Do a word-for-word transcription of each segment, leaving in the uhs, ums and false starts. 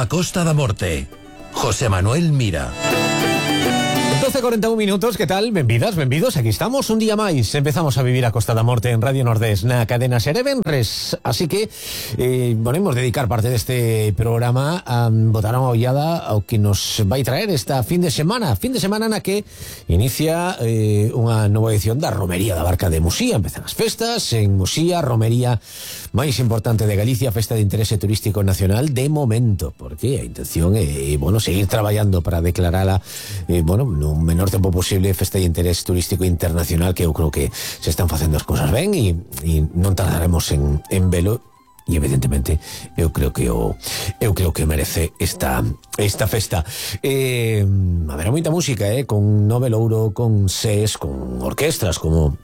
a Costa da Morte. José Manuel Mira. doce e cuarenta y un minutos, que tal? Benvidas, benvidos, aquí estamos un día máis. Empezamos a vivir a Costa da Morte en Radio Nordés, na cadena Serevenres. Así que, eh, podemos dedicar parte deste programa a botar unha ollada ao que nos vai traer esta fin de semana. Fin de semana na que inicia eh, unha nova edición da Romería da Barca de Muxía. Empezan as festas en Muxía, romería máis importante de Galicia, festa de interese turístico nacional de momento, porque a intención é, bueno, seguir traballando para declarala, eh, bueno, no menor tempo posible festa de interés turístico internacional, que eu creo que se están facendo as cousas ben e, e non tardaremos en, en velo. E evidentemente eu creo que o eu creo que merece esta esta festa. Eh, haberá moita música, eh, con Nove Louro, con SES, con orquestras como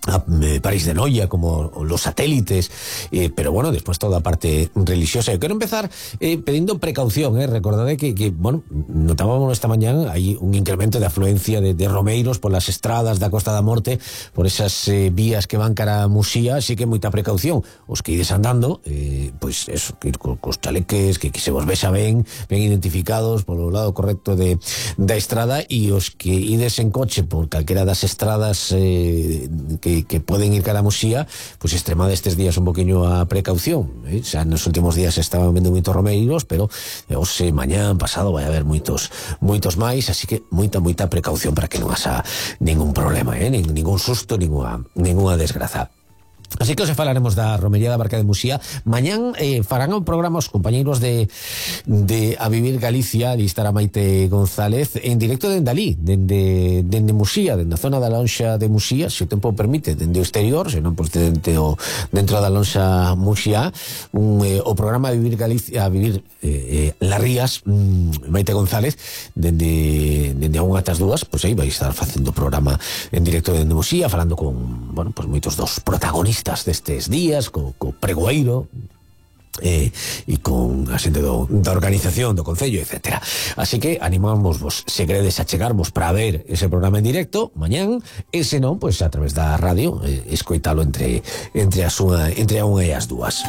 a París de Noia, como Los Satélites, eh, pero bueno, después toda a parte religiosa. Eu quero empezar eh, pedindo precaución, eh. Recordade que, que, bueno, notábamos esta mañán hai un incremento de afluencia de, de romeiros polas estradas da Costa da Morte, por esas eh, vías que van cara a Muxía, así que moita precaución. Os que ides andando, eh, pois eso, que ir co, cos chaleques, que, que se vos vexa ben, ben identificados polo lado correcto de, da estrada, e os que ides en coche por calquera das estradas eh, que que poden ir cara a Muxía, pois pues extremade estes días un poquinho a precaución, eh? Xa nos últimos días estaban vendo moitos romeiros, pero hoxe, mañán, pasado vai haber moitos moitos máis, así que moita, moita precaución para que non haxa ningún problema, eh? Nin, ningún susto, ninguna, ninguna desgraza. Así que os falaremos da Romería da Barca de Muxía. Mañán eh, farán un programa os compañeiros de, de A Vivir Galicia, de estar a Maite González, en directo dende alí, dende, dende Muxía, dende a zona da lonxa de Muxía, se o tempo permite, dende o exterior, se non, pois dende o, dentro da lonxa Muxía, un, eh, o programa A Vivir Galicia, A Vivir eh, eh, Las Rías, mm, Maite González, dende, dende a unha ata as dúas, pois aí vai estar facendo o programa en directo dende Muxía, falando con, bueno, pois moitos dos protagonistas destes días, co, co pregoeiro eh, e con a xente do, da organización do Concello, etcétera. Así que animamos vos, se queredes achegarvos para ver ese programa en directo mañán, e se non, pois a través da radio, eh, escoitalo entre entre a súa, entre a unha e as dúas.